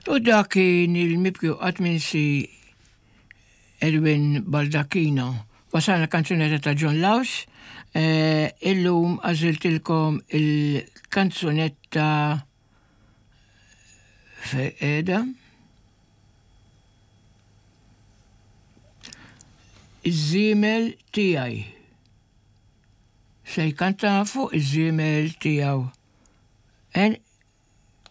U dak kien il-mibki u qatt minsi Edwin Baldacchino. Wasalna kanzunetta ta' John Laus. Eh, illum għażiltilkom il-kanzunetta fejn Iż-żiemel tiegħi. Se jkanta fuq iż-żiemel tiegħu.